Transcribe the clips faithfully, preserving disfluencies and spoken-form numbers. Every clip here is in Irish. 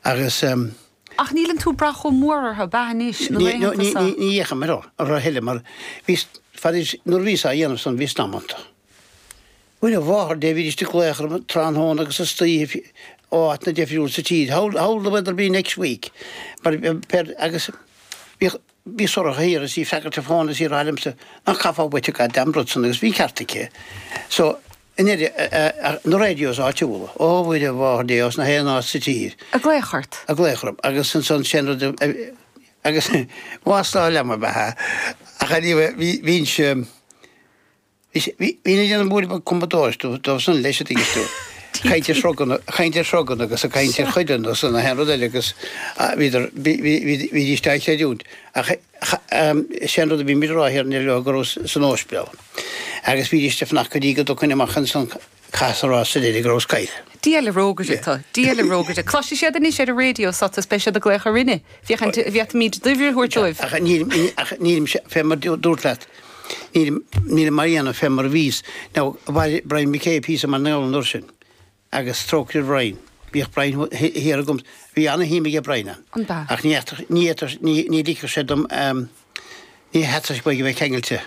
Agus Ach níleann tú ag brath chomh mór orthu, ab ea anois, na laethanta seo? Ní fhéachaim orthu a thuilleadh mar bhí, fad is, nuair a bhíos á dhéanamh san bhíos damanta. Mhuire mháthair Dé bhídís ag glaoch orm tráthnóna agus istoíche ó áiteanna difriúla sa tír, how, how will the weather be next week? Mar, per, agus bhíodh, bhí Sorcha thiar is í ag freagairt an fón is í ag rá liomsa, nach gcaithfeá uait an goddamn rud san agus bhí an ceart aici. So, i ndeireadh, na radios áitiúla, ó Mhuire Mháthair Dé, os na haon áit sa tír. Ag glaoch ort. Ag glaoch orm agus ansan sin rud agus mhaslá liom ab ea ach anyway bhí bhínnse bhí bhínn ag déanamh bualadh bog cumadóireacht dóibh san leis an dtuigeann tú. Caint ar shruganna, caint ar shruganna agus ag caint ar chuileanna agus na haon rud eile agus bhíodar bhí bhí bhídís á chreidiúint ach sé an rud a bhí muid a rá thiar leo go raibh san óispidéal. Agus bhídís ag fanacht go dtí go dtiocfainn amach ansan caithfear a rá sa deireadh go rabhas caillte. Dia le rógaire tu, Dia le rógaire. Cloisfidh siad anois ar an raidió seo is beidh siad ag glaoch orainne. Féachaint an bhféadfaimid d'uimhir a thabhairt dóibh. Ach nílim, ach nílim, fé mar dúrt leat, nílim, nílim á dhéanamh fé mar a bhíos. Now, bhailigh Brian McKay píosa mar an uair sin. Agus trócaire ar Bhrian. Bhíodh Brian thiar agam, bhí ana-shuim aige Brian ann. An b'ea? Ach ní fhéadfadh, ní fhéadfadh, ní, ní ligfeadh sé dom, ní theastódh uaidh a bheith ceangailte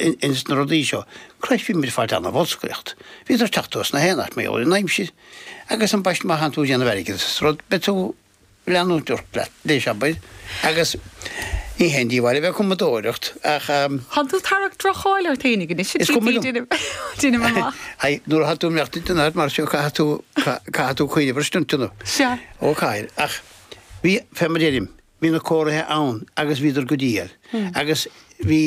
ins na rudaí seo. Christ, bhí muid ag fáilt ana-bholscaireacht. Bhíodar ag teacht os na haon áit, mar gheall ar an aimsir. Agus ambaist má thánn tú ag déanamh airgid as rud, beidh tú leanúint ort leat, leis, abair. Agus ní haon díobháil a bheith ag cumadóireacht ach. Thánn tú ag tarrac droch-cháil ort fhéinig anois, a Is cuma liom. Deinim amach. Aye, nuair atá tú ag imeacht in áit mar seo caithfidh tú, caithfidh tú cuimhneamh ar stuntanna. Sea. Ó caithfidh. Ach bhí, fé mar a deirim, bhí na comharthaithe ann agus bhíodar go diail. Agus bhí,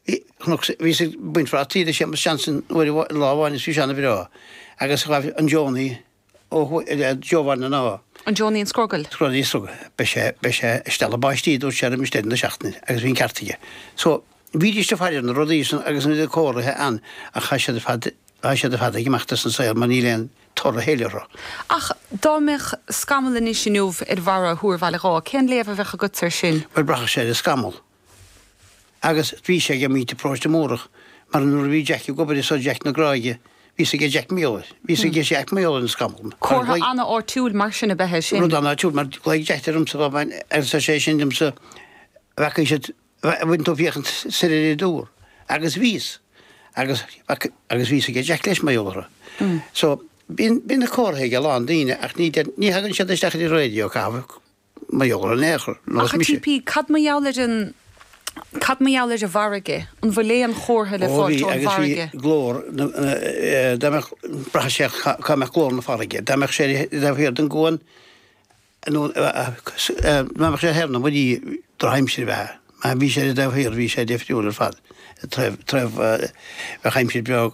bhí, chonac, bhíos ag baint phrátaí le Séamus Johnson uair amháin, lá amháin is bhí sé ana-bhreá. Agus ghabh an Johnny, Ó thuaidh, Joe Bhaile na nÁ. An Johnny an Scrogaill. Scrogaill an Scrogaill. Beidh sé, beidh sé ag stealladh báistí, dúirt sé roimis deireadh na seachtaine, agus bhí an ceart aige. So, bhídís ag faire ar na rudaí san agus na comharthaithe ann ach tá siad ar fad, tá siad ar fad ag imeacht as an saol mar níl aon toradh a thuilleadh orthu. Ach dá mbeadh scamall anois inniu ar bharra Thúr Bhaile Dháith, cén léamh a bheadh agatsa air sin? Bhuel, braithfidh sé ar an scamall. Agus bhí sé ag muintir Paróiste Múrach, mar nuair a bhí Jack ag obair anso, Jack na Gráige, bhí 'fhios aige Jack mar gheall air, bhí 'fhios aige Jack mar gheall ar an scamall. Comhartha ana-áitiúil mar sin ab ea é sin. Rud ana-áitiúil, mar ghlaoigh Jack ormsa lá amháin agus ar sé sin liomsa, bhfacaidh siad, bhfuil tú ag féachaint soir ar an dtúr? Agus bhíos. Agus, agus bhí 'fhios aige Jack leis mar gheall orthu. So, bíonn, bíonn na comharthaí ag a lán daoine ach ní, ní thagann siad isteach ar an raidió, caithfidh. Mar gheall ar an aer, nós Ach a mise. TP, cad mar gheall ar an, cad mar gheall ar an bhfarraige? An bhfuil aon chomhartha le Ó fáilt bhí, ón agus bhí bhfarraige? glór na, dá mbeadh, braitheann sé cá mbeadh glór na farraige. Dá mbeadh sé taobh thiar den gcuan, nó dá mbeadh sé thoir na muirí, drochaimsir ab ea. Má bhí sé ar an dtaobh thiar, bhí sé difriúil ar fad. Taobh, taobh, bheadh aimsir breá.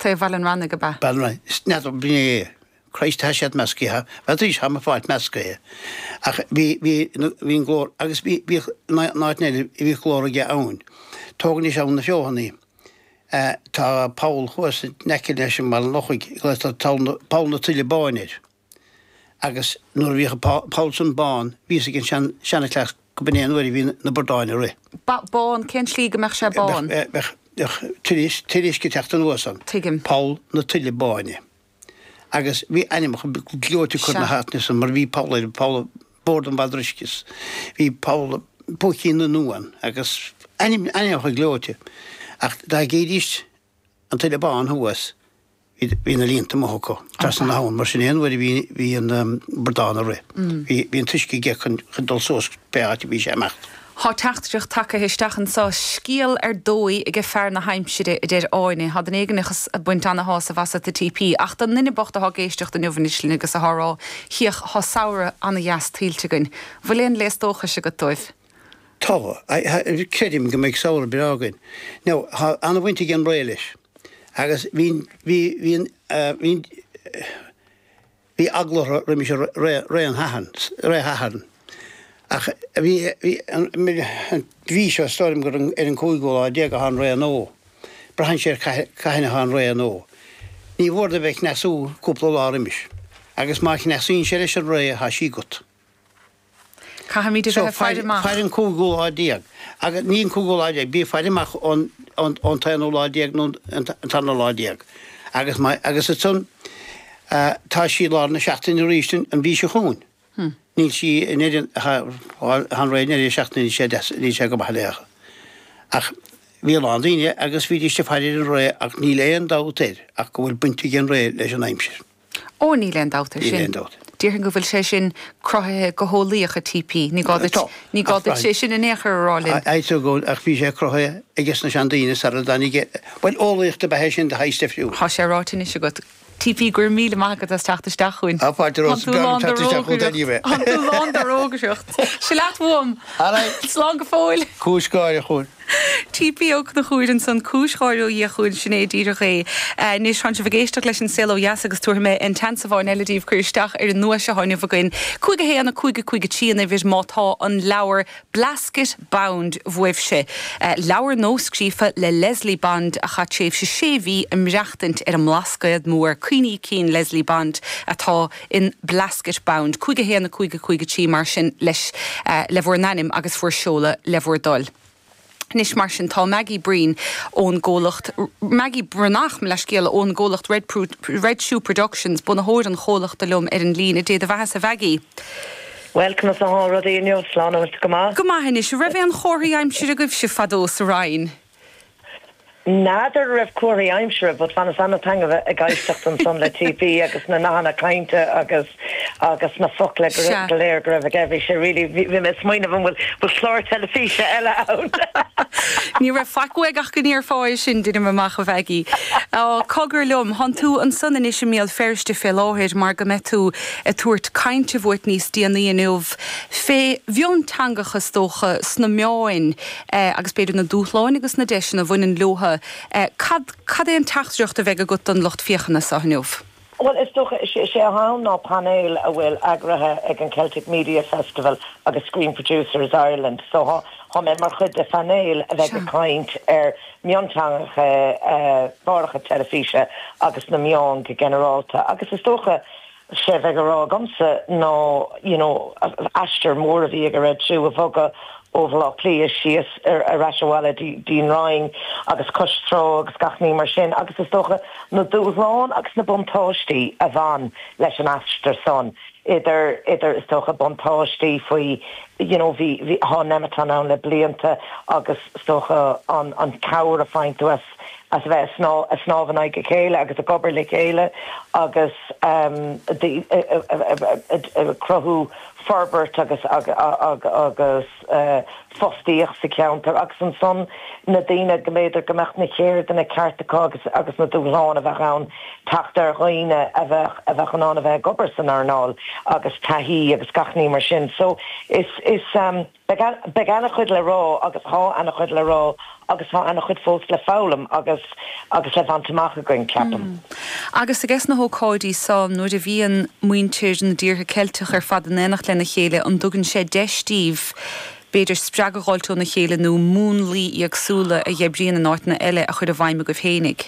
Taobh Bhaile an Rannaigh ab ea? Baile an Rannaigh. N'fheadar, b'in é. Christ, tá siad meascaithe. Bheadh arís, tá mé ag fáilt meascaithe. Ach bhí, bhí, bhí an glór, agus bhí, bhíodh, in áit eile, bhíodh glór aige abhainn. Tóg anois Abhainn na Feothanaí. Tá poll thuas in aice leis an mBaile an Lochaigh, glaotar Poll na Tuile Báine air. Agus nuair a bhíodh an poll san bán, bhí 'fhios ag an sean, seanchleas go b'in é an uair a bhí na bradáin ag rith. Ba, bán, cén tslí go mbeadh sé bán? Bheadh, bheadh, bheadh tuile, tuile uisce ag teacht anuas ann. Tuigim. Poll na Tuile Báine. Agus bhí ainmneacha gleoite acu ar na Sea. háiteanna san mar bhí poll ar, poll Bord an Mhadra Uisce is bhí poll Púicín na nUan agus ainm, ainmneacha gleoite. Ach dá gcídís an tuile bán thuas, Bhí na líonta amuigh acu trasna na habhann, mar sin aon uair a bhí an bradán ag rith, bhí an t-uisce aige chun dul suas pé áit a bhí sé ag imeacht. Thá teachtaireacht tagaithe isteach anso, Scéal ar dóigh aige fear na haimsire, a deir Áine. Thá duine éigin ag baint ana-shásamh asat, a TP, ach don nduine bocht athá ag éisteacht inniu anois linn agus athá ag rá, Chiach, thá samhradh ana-dheas tuillte againn. Bhfuil aon léas dóchais agat dóibh? Tá. Creidim go mbeidh samhradh breá againn. Now, thá ana-bhaint ag an ré leis. Agus bhí, bhí, bhí an, bhí, bhí eagla orthu roimis an ré, ré an Shathairn, ré Shathairn. Ach bhí, bhí an, an mhí seo, is dóigh liom gur ar an cúigiú lá déag athá an ré nua. Braitheann sé ar cathain athá an ré nua. Ní mhór do bheith ag cneasú cúpla lá roimis. Agus má chneasaíonn sé leis an ré, thá sí agat. Caithfimid a So, bheith ag faire faire, amach. faire an cúigiú lá déag. Agus ní an cúigiú lá déag, bí ag faire amach ón, ón, ón t-aonú lá déag nó an, an tarna lá déag. Agus má, agus ansan, Tá sí lár na seachtaine arís an mhí seo chugainn. Níl sí in Éirinn han ré in seachtain sé níl sé go maith léi. Ach bhí a lán daoine agus bhídís ag faire ar an ré ach níl aon dabht air ach go bhfuil baint ag an ré leis an aimsir. Ó níl aon dabht air Níl sin. aon dabht. Déarfainn go bhfuil sé sin cruthaithe go heolaíoch a TP, ní gá duit Tá. ní gá duit sé sin in aon chor a rá linn. Aitu go ach bhí sé cruthaithe aige na seandaoine sara dtáinig Well eolaíocht ab ea sin de shaghas difriúil. Tá sé ráite anois agat. TP go raibh míle maith agat as teacht isteach chugainn. Á fáilte romhat Tá tú lán de rógaireacht. Sé leat uaim. Slán go fóill. Cúis gáire chugainn. TP Ó Conchúir ansan cúis gháire ó Dhia chugainn sin é díreach é. Anois tá sibh ag éisteacht leis an Saol Ó Dheas agus tabharfaidh mé an tseans amháin eile daoibh cur isteach ar an nduais atá inniu againn. Cúig a haon a cúig a cúig a trí an uimhir má tá an leabhar Blasket Bound uaibhse. Leabhar nuascríofa le Leslie Bond a chaith tréimhse sé mhí ag maireachtaint ar an mBlascaod Mór cuimhní cinn Leslie Bond atá in Blasket Bound. Cúig a haon a cúig a cúig a trí mar sin leis le bhur n-ainm agus bhur seoladh le bhur dtoil. Anois mar sin tá Maggie Breen ón gcomhlacht Maggie Breathnach le scéal ón gcomhlacht Red, Red Shoe Productions bunaitheoir an chomhlachta liom ar an líne Dé do bheatha a Mhaggie. Well conas atá rudaí inniu Slán go maith? Go maith anois raibh aon chomharthaí aimsire agaibhse fadó sa Rinn. N'fheadar raibh comharthaí aimsire, but bhaineas an-taitneamh ag éisteacht ansan le TP agus na nathanna cainte agus agus na focla go léir go raibh aige bhí sé really bhí mé smaoineamh an bhfuil bhfuil clár teilifíse eile ann. Ní raibh faic uaidh ach go ndéarfá sin duine amach a Mhaggie. Cogar liom, Tá tú ansan anois i mBéal Feirste fé láthair mar go mbeidh tú ag tabhairt cainte bhuait níos déanaí inniu fé mhionteangacha is dócha sna meáin agus b'fhéidir na dúshláin agus na deiseanna a bhaineann leo. Cad cad é an teachtaireacht a bheidh agat don lucht féachana seo inniu? Well is dócha sé sé ann ná panel a bhfuil eagraithe ag an Celtic Media Festival agus Screen Producers Ireland, so thá thá mé mar chuid de phanel a bheidh ag caint ar mionteangacha cláracha teilifíse agus na meáin go ginearálta agus is dócha sé bheith a rá agamsa ná you know, aistear mór a bhí ag Red Shoe a bhogadh ó Bhaile Átha Cliath síos ar ar ais abhaile dtí'n Rinn agus cois trá agus gach ní mar sin agus is dócha na dúshláin agus na buntáistí a bhain leis an aistear san idir idir is dócha buntáistí faoi you know bhí bhí thá Nemeton ann le blianta agus is dócha an an cabhair a faigheann tú as as bheith sná a snámh in aghaidh a chéile agus ag obair le chéile agus um, cruthú forbairt agus agus uh, fostaíocht sa cheantar agus ansan na daoine go mb'fhéidir go mbeadh na ceirdeanna cearta agus agus na dúshláin a bheith ann teacht ar dhaoine a bheith a bheith an an a bheith ag obair san earnáil agus taithí agus gach ní mar sin. So is is um, beidh an-chuid le rá agus thá an-chuid le rá agus thá an-chuid fós le foghlaim agus agus le bhaint amach againn ceapaim. Mm. Agus ages na hócáidí seo nuair a bhíonn muintir na dtíortha Ceilteach ar fad in éineacht lena chéile an dtugann sé deis daoibh b'fhéidir spreagadh a fháil óna chéile nó múnlaí éagsúla a oibríonn in áiteanna eile a chur i bhfeidhm agaibh féinig.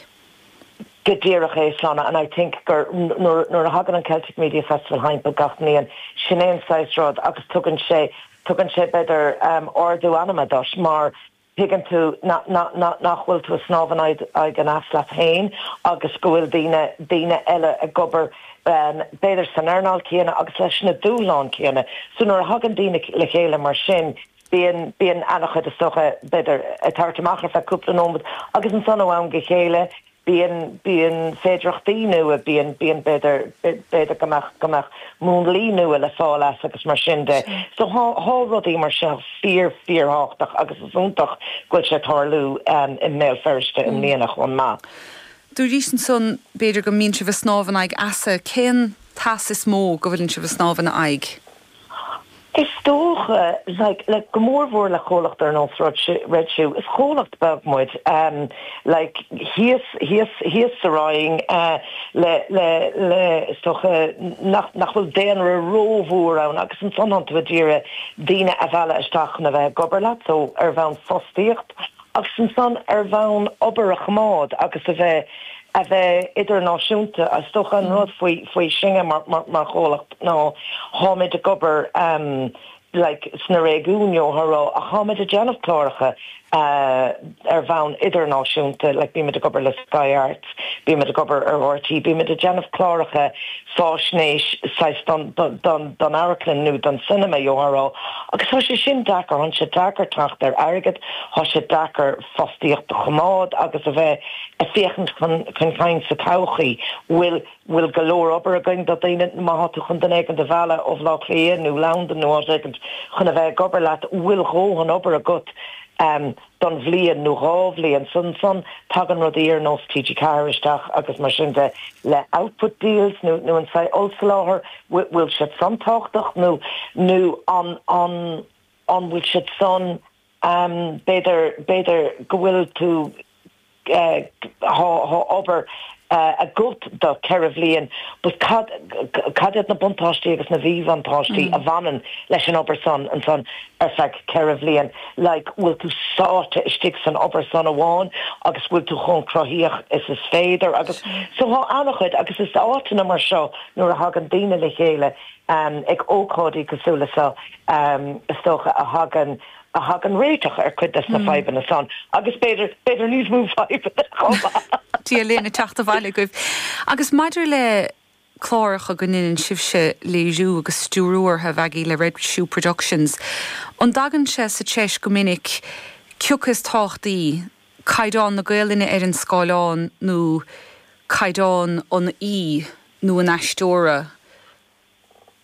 Go díreach é Sláine and I think gur nuair a thagann an Celtic Media Festival thimpeall gach bliain sin é an saghas rud agus tugann sé tugann sé b'fhéidir um, ardú anama duit mar tuigeann tú nach bhfuil tú snámh in aghaidh an easa leat féin agus go bhfuil daoine daoine eile ag obair um, b'fhéidir san earnáil céanna agus leis na dúshláin céanna. So nuair a thagann daoine le chéile mar sin, bíonn bíonn an-chuid is dócha b'fhéidir ag tabhairt amach ar feadh cúpla nóiméad agus ansan ó am go chéile bíonn bíonn féidearthachtaí nua bíonn bíonn b'fhéidir b'fhéidir go mbeadh go mbeadh múnlaí nua le fáil as agus mar sin de. So thá rudaí mar seo fíor fíorthábhachtach agus is iontach go bhfuil sé tarlú um, i mBéal Feirste i mbliana chomh maith. Dúirt ansan b'fhéidir go mbíonn sibh ag snámh in aghaidh easa cén t-eas is mó go bhfuil sibh ag snámh ina aghaidh. Is dócha like, le go mórmhór le comhlacht ar nós Red Shoe is comhlacht beag muid um, like, thíos thíos thíos sa Rinn uh, le le le is dócha nach nach bhfuil daonra rómhór ann agus ansan tú ag iarraidh daoine a mhealladh isteach na bheith ag obair leat so ar bhonn fostaíocht agus ansan ar bhonn obair a choimeád agus a bheith a bheith idirnáisiúnta is dócha an rud faoi faoi sinne mar, mar, mar chomhlacht ná táimid ag obair um, like sna réigiúin gheofá a rá ach táimid ag déanamh cláracha uh, ar bhonn idirnáisiúnta like bímid ag obair le Sky Arts, bímid ag obair ar RTÉ, bímid ag déanamh cláracha faisnéis don don don amharclann nó don cinema gheofá a rá agus tá sé sin deacair tá sé deacair teacht ar airgead tá sé deacair fostaíocht a choimeád agus a bheith ag féachaint chun chun cinn sa todhchaí bhfuil bhfuil go leor obair againn do daoine má tá tú chun duine éigin a mhealladh ó Bhaile Átha Cliath nó Londain nó áit éigin chun a bheith ag obair leat bhfuil dóthain obair agat um, don bhliain nó dhá bhliain san san tagann rudaí ar nós TG Ceathair isteach agus mar sin de le output deals nó nó an saghas ollsoláthar bhfuil siad san tábhachtach nó nó an an an bhfuil siad san um, b'fhéidir b'fhéidir go bhfuil tú uh, tá obair uh, agat do ceithre bhliain, but cad cad iad na buntáistí agus na míbhuntáistí mm. a bhaineann leis an obair san an san ar feadh ceithre bhliain, like bhfuil tú sáite istigh san obair san amháin agus bhfuil tú chomh cruthaitheach is is féidir agus so tá an-chuid agus is áiteanna mar seo nuair a thagann daoine le chéile um, ag ócáidí cosúil le seo um, is dócha a thagann a thagann réiteach ar chuid des na mm. fadhbanna san agus b'fhéidir b'fhéidir níos mó fadhbanna Dia linn teacht abhaile agaibh. Agus maidir le cláracha go ndéanann sibhse léiriú agus stiúrú orthu a Mhaggie le Red Shoe Productions. An dtagann sé sa treis go minic cé acu is tábhachtaí caighdeán na Gaelainne ar an scáileán nó caighdeán an aoi nó an aisteora.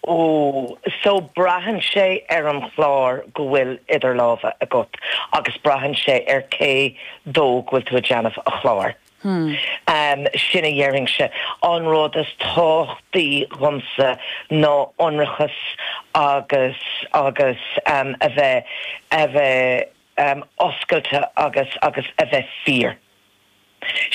Ó so braitheann sé ar an chlár go bhfuil idir lámha agat agus braitheann sé ar cé dó go bhfuil tú ag déanamh a chlár. Hmm. Um, sin a dhéarfainn sé an rud is tábhachtaí dhomsa ná ionracas agus agus um, a bheith a bheith um, oscailte agus agus a bheith fíor.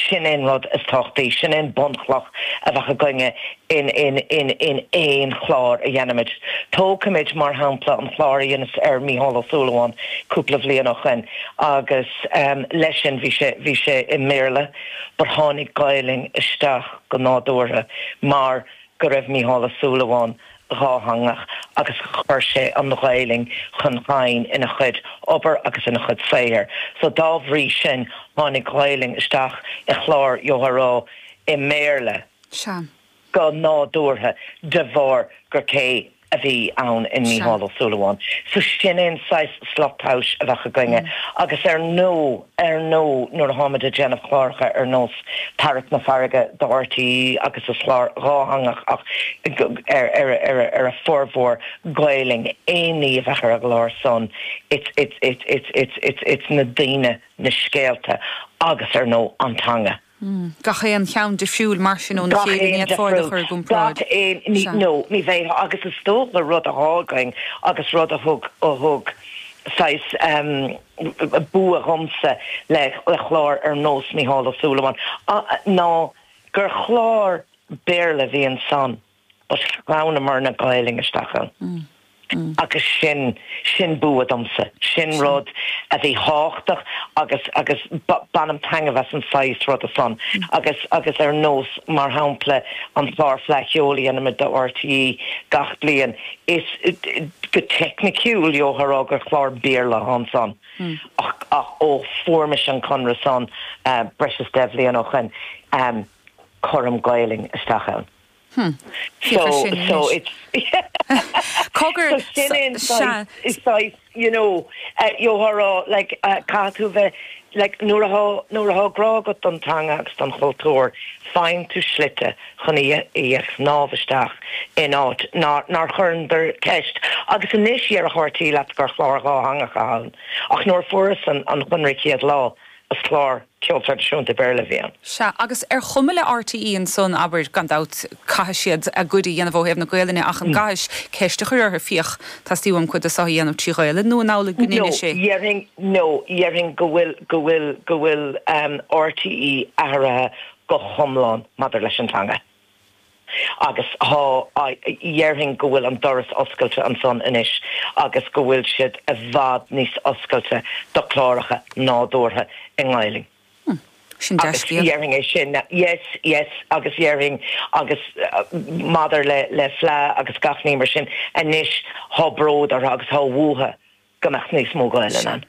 Sin an rud is tábhachtaí, sin an bunchloch a bheadh againne in in in in aon chlár a dhéanaimid. Tógfaimid mar shampla an chlár a dheineas ar Mícheál Ó Súilleabháin cúpla bliain ó shin agus um, leis sin bhí sé bhí sé i mBéarla, but tháinig Gaelainn isteach go nádúrtha mar go raibh Mícheál Ó Súilleabháin dátheangach agus chuir sé an Ghaelainn chun cinn ina chuid obair agus ina chuid saothair. So dá bhrí sin tháinig Gaelainn isteach i chlár gheofá a rá i mBéarla Sea. go nádúrtha de bharr gur cé a bhí ann in Mícheál Ó Súilleabháin. So sin an saghas slat tomhais a bheadh againne. Mm. agus ar nó ar nó nuair atáimid ag déanamh cláracha ar nós Tarrac na Farraige do RTÉ agus is clár dátheangach ach ar ar ar ar a formhór Gaelainn aon ní a bheadh ar an gclár san it's it's it's it's it's it's it's na daoine na scéalta agus ar nó an teanga. Mm. Gach aon cheann difriúil mar sin ón chéile ní chur gcomparáid. No, ní bheith agus is dócha rud a thágainn agus rud a thug a thug saghas um, bua dhomsa le le chlár ar nós Mícheál Ó Súilleabháin ná gur chlár Béarla bhí ansan but shleamhnamar na Gaelainn isteach ann. Mm. Mm. agus sin sin bua domsa sin rud a bhí tábhachtach agus agus bainim taitneamh as an saghas rud san mm. agus agus ar nós mar shampla an clár Fleadh Cheoil a dhéanaimid do RTÉ gach bliain is go teicniciúil gheofá a rá gur chlár Béarla ansan mm. ach ach ó fuair mise an conradh san uh, breis is deich mbliana ó shin um, cuirim Gaelainn isteach ann. Hmm. So so it's Cogar so is you know uh, gheofá a rá like uh, caithfidh tú bheith like nuair atá nuair atá grá agat don teanga agus don chultúr faigheann tú slite chun í í shnámh isteach in áit nár nár chuireadar ceist agus anois ar a thuirtí leat gur chlár dátheangach ann ach nuair a fuaireas an an conradh chéad lá is clár ceol traidisiúnta Béarla bhí ann. Sea agus ar chuma le RTÉ ansan abair gan dabht caithfidh siad a gcuid a dhéanamh ó thaobh na Gaelainne ach an gcaithfidh ceist a chur orthu féach teastaíonn uaim cuid de seo a dhéanamh trí Ghaelainn nó an amhlaidh go ndéanann sé. Déarfainn no déarfainn go bhfuil go bhfuil go bhfuil um, RTÉ athraithe go hiomlán maidir leis an teanga. Agus tá déarfainn go bhfuil an doras oscailte ansan anois agus go bhfuil siad i bhfad níos oscailte do chláracha nádúrtha i nGaelainn. Hmm. Sin Déarfainn é sin yes yes agus déarfainn agus uh, maidir le le Fleadh agus gach ní mar sin anois tá bród agus tá uathu go mbeadh níos mó Gaeilge ann.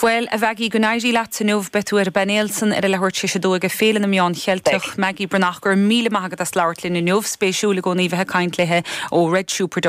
Well a Mhaggie go n-éirí leat inniu beidh tú ar an bpainéal san ar a leathuair tar éis a dó ag Féile na Meán Cheilteach Maggie Breathnach go raibh míle maith agat as labhairt linn inniu spéisiúil i gcónaí bheith ag caint léi ó Red Shoe Production.